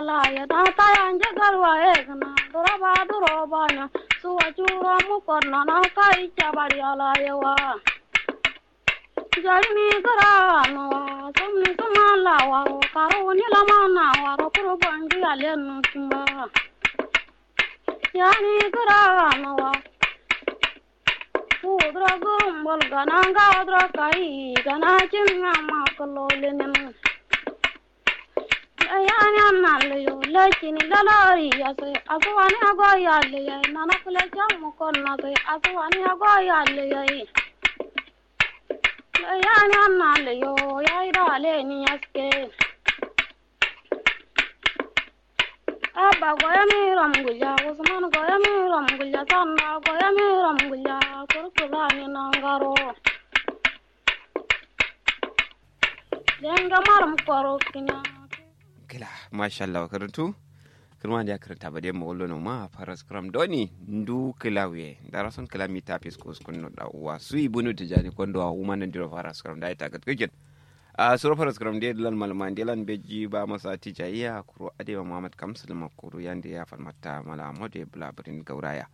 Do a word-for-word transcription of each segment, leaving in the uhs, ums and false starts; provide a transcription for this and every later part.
Laye da taya nje garwa ye gǝna duro ba duro ba nya suwa curo mukon nana kai cabari alaye wa. Jari ni gǝra no wa sǝmni sǝma la waro karo ni lama na waro kuro bangi alen no kimba. Yani gǝra no wa. Kudura gurumbul gana nga dura kai gana cin nga ma kalo linin. Layani anna layo lakini lalari yase asuwani ago yalle yai nana kule jamu konna sai asuwani ago yalle yai. Layani anna layo yai da leni yaske. Abba goyami ram gulja usman goyami ram gulja sanda goyami ram gulja kurkula ni nangaro. Lenga maram koro kina. Kila mashallah karantu. Kirma ndiya karanta ba dai mawallo no ma faras kram doni ndu kila wiye dara son kila mita fis ko skun no da uwa sui bunu tijani kondo wa uma nan diro faras kram da ita gat kikin. A suro faras kram de lan malma de lan beji ba masa tijaiya kuro adewa muhammad kamsul makuru yande ya falmata mala mode bula birin gauraya.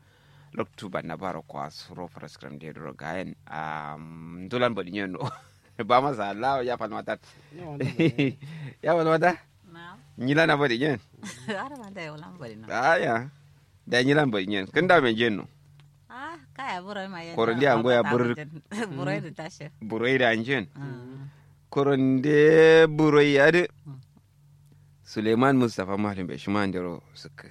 Loktu ba na baro kwa suro faras kram de duro gayen a ndulan bodi nyen no. Ba masa Allah ya falmata. Ya falmata. Nyilan abodi nyen. Aya. Da nyilan bodi nyen kǝnda men jenno. Koro ndi ango ya bur. Buroi da njen. Koro nde buroi adǝ. Suleiman mustapha malum be shima ndero sǝkkǝ.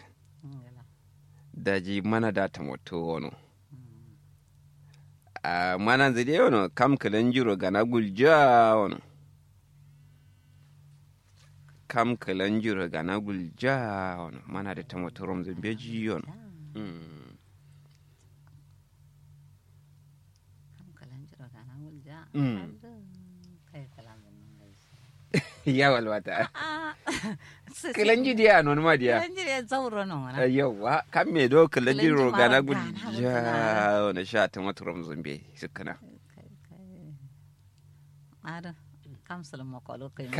Daji mana da tamotto wono. Mana nzǝ de wono kam kǝlanjiro gana gulja wono. Kam kǝlanjiro gana gulja wono mana da tamotto romzǝ mbeji wono. Ya walwata. Kǝlanji diya non ma diya. Kǝlanji diya zauro non wana. Yawwa kam me do kǝlanjiro gana gulja wono sha tamotto romzǝ mbe sǝkkǝna. Adǝ kam sǝlǝm makolo kai.